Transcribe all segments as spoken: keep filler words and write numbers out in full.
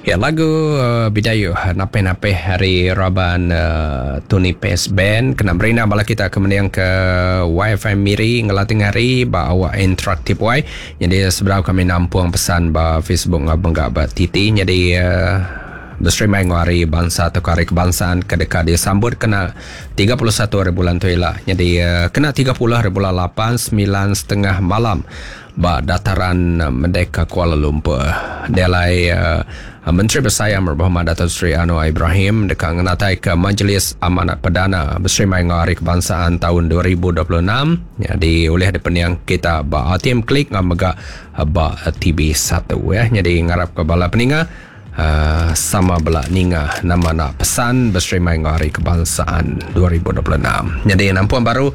Ya, lagu uh, Bidayuh Napeh-napeh hari raban uh, Tony Pace Band kena berina bala kita ke mending ke Y F M Miri ngelatih hari ba awak interaktif Y. Jadi seberapa kami nampung pesan ba Facebook ngabeng ba T T. Jadi uh, berstream main hari bangsa atau hari kebangsaan ke dekat disambut kena tiga puluh satu hari bulan tu ialah. Jadi uh, kena tiga puluh hari bulan lapan, sembilan setengah malam ba dataran Merdeka Kuala Lumpur. Dia lai uh, Menteri Besar Yang Berhormat Dato' Seri Anwar Ibrahim dekat ngenatai ke Majlis Amanat Perdana bersama dengan Hari Kebangsaan tahun dua ribu dua puluh enam. Jadi oleh ada peniang kita ba A T M Klik ngam mega ba T V satu ya. Jadi ngarap ke bala peninga uh, sama bela ninga nama nak pesan bersama dengan Hari Kebangsaan dua ribu dua puluh enam. Jadi nampuan baru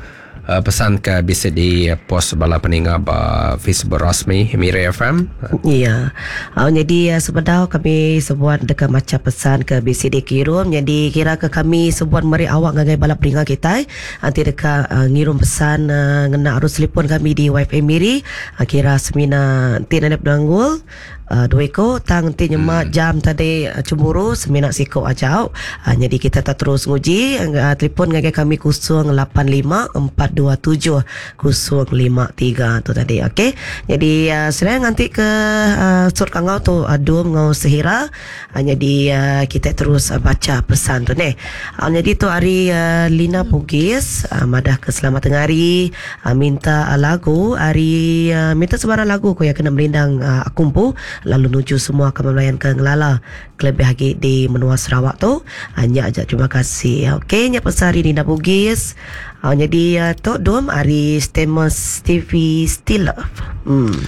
Uh, pesan ke bisa di post bala peninga ba Facebook rasmi Miri F M. Ya. Uh, jadi uh, sebenarnya kami sebuat dekat macam pesan ke B C D kirim. Jadi kira ke kami sebuat meri awak ngagai bala peninga kita. Nanti dekat uh, ngirim pesan uh, ngena arus telefon kami di Y F M Miri. Uh, kira semina nanti nak penanggul. Uh, dua ekor tang nanti nyemak hmm. jam tadi uh, cemburu semina siko ajau. Uh, jadi kita tak terus nguji uh, telefon ngagai kami kosong lapan lima empat dua tujuh kosong lima tiga tu tadi. Okey. Jadi uh, selain nanti ke uh, sur kangau tu adum ngau sehira. Uh, jadi uh, kita terus uh, baca pesan tu ni. Uh, jadi tu hari uh, Lina Pugis uh, madah ke selamat tengah hari uh, minta uh, lagu hari uh, minta sebarang lagu ko yang kena melindang uh, akumpu lalu nuju semua kami melayan ke Ngelala kelebih lagi di menua Sarawak tu. Hanya ajak terima kasih. Okey, nya pesan hari Lina Bugis. Uh, jadi uh, tok dom hari Stemus T V Still Love. Hmm.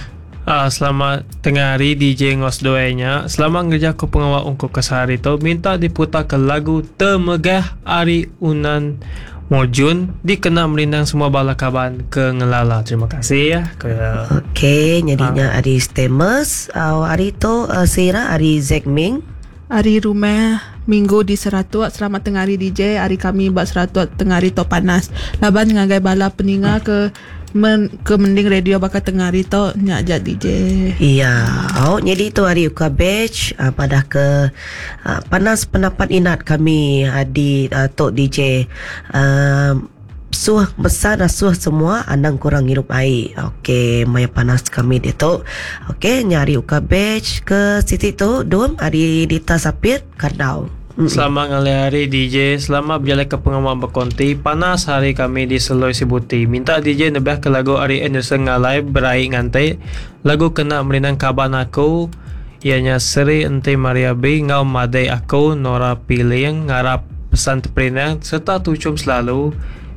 Uh, selamat tengah hari D J Ngos doanya. Selamat ngerja ku pengawal ungkup kesehari tu. Minta diputar ke lagu Temegah Ari Unan Mojun dikena melindang semua bala kaban ke Ngelala. Terima kasih ya. Ke Okey, jadinya ha. Ari Stemus, uh, hari tu uh, Sira ari Zack Ming. Hari rumah Minggu di Seratuk. Selamat tengah hari D J. Hari kami buat Seratuk tengah hari tu panas. Laban ngagai bala peninga ke men, ke mending radio bakal tengah hari tu nyak jat D J. Iya, oh jadi tu hari uka batch uh, pada ke uh, panas pendapat inat kami uh, di uh, tok D J. Uh, suh besar dah suh semua andang kurang hirup air. Okey, maya panas kami dia tu. Okey, nyari uka batch ke situ tu dom hari Dita Sapir Kardau. Mm-mm. Selamat ngalih hari D J. Selamat berjalan ke pengumuman berkonti. Panas hari kami di Seloi Sibuti. Minta D J nebah ke lagu Ari Anderson ngalai berai ngantai. Lagu kena merindang kaban aku ianya Seri Ente Maria B ngau madai aku Nora Piling ngarap pesan terperinang serta tucum selalu.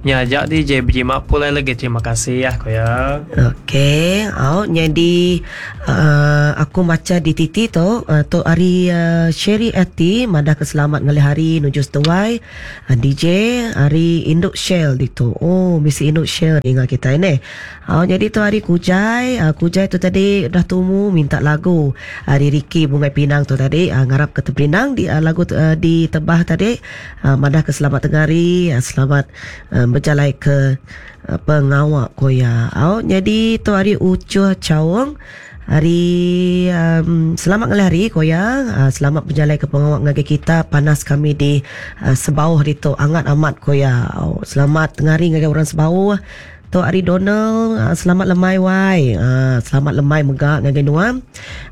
Nyajak D J berjimat pulai lagi. Terima kasih ya ko ya. Okey, oh jadi uh, aku baca di T T tu uh, tu hari uh, Sherry Ati madah keselamat ngalih hari nuju setuai uh, D J hari Induk Shell di tu. Oh, misi Induk Shell ingat kita ini. Oh, jadi tu hari Kujai, uh, Kujai tu tadi dah tumu minta lagu hari Ricky Bungai Pinang tu tadi uh, ngarap ke Tepinang di uh, lagu uh, di Tebah tadi uh, madah keselamat tengah hari uh, selamat uh, berjalan ke uh, pengawak koya. Oh, jadi tu hari Ucuh Caung hari um, selamat ngalih hari koya. Uh, selamat berjalan ke pengawak ngagai kita. Panas kami di uh, Sebauh di tu angat amat koya. Oh, selamat tengah hari ngagai orang Sebauh. Tu hari Donald, uh, selamat lemai wai. Uh, selamat lemai megak ngagai nuam.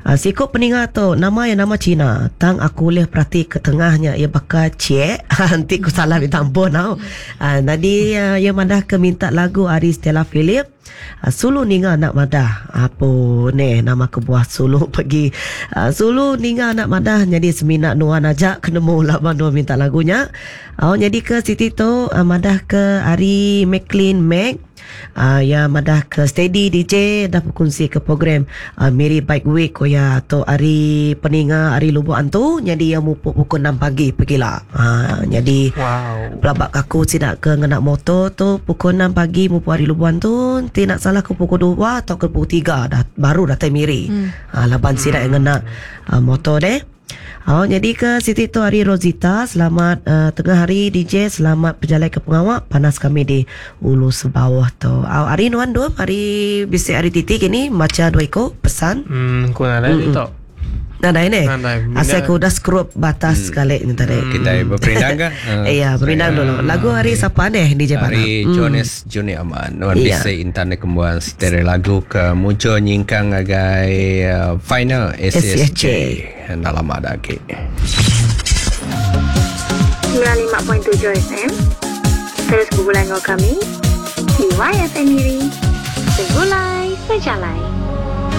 Uh, sikop peninga tu nama yang nama Cina. Tang aku boleh perhati ke tengahnya ia bakal cek. Nanti ku salah minta ampun tau. Uh, tadi uh, ia madah ke minta lagu Ari Stella Philip. Uh, Sulu ninga anak madah. Apa ni nama kebuah Sulu pergi. Uh, Sulu ninga anak madah jadi semina nuan ajak kena mu laban nuan minta lagunya. Oh, jadi ke Siti tu uh, madah ke Ari McLean Mac. Uh, ya madah ke Steady D J dah berkongsi ke program uh, Miri Bike Week koya atau hari peninga hari Lubuk Antu jadi yang mupuk pukul enam pagi pergilah. Uh, jadi wow. Pelabak aku tidak ke ngenak motor tu pukul enam pagi mupuk hari Lubuk Antu tidak salah ke pukul dua atau ke pukul tiga dah baru datang Miri. Hmm. Uh, laban sidak yang ngenak uh, motor deh. Oh, jadi ke Siti tu hari Rosita, selamat uh, tengah hari D J, selamat berjalan ke pengawak panas kami di Ulu Sebawah tu. Oh, hari nuan dua hari bisik hari titik ini baca dua ekor pesan. Hmm, ku nak ada tu. Nadai ne. Nadai. Asal aku udah skrup batas sekali ni tadi. Kita berperindang ke? Iya, berindang dulu. Lagu hari siapa ni D J Pana? Hari Jonas Junior Aman. Nuan Iya. bisa intan kembuan stereo lagu ke muncul nyingkang agai uh, final S S J. Dah lama dah lagi. sembilan lima perpuluhan tujuh F M. Terus bergulai dengan kami di Y F M Miri. Segulai sejalai.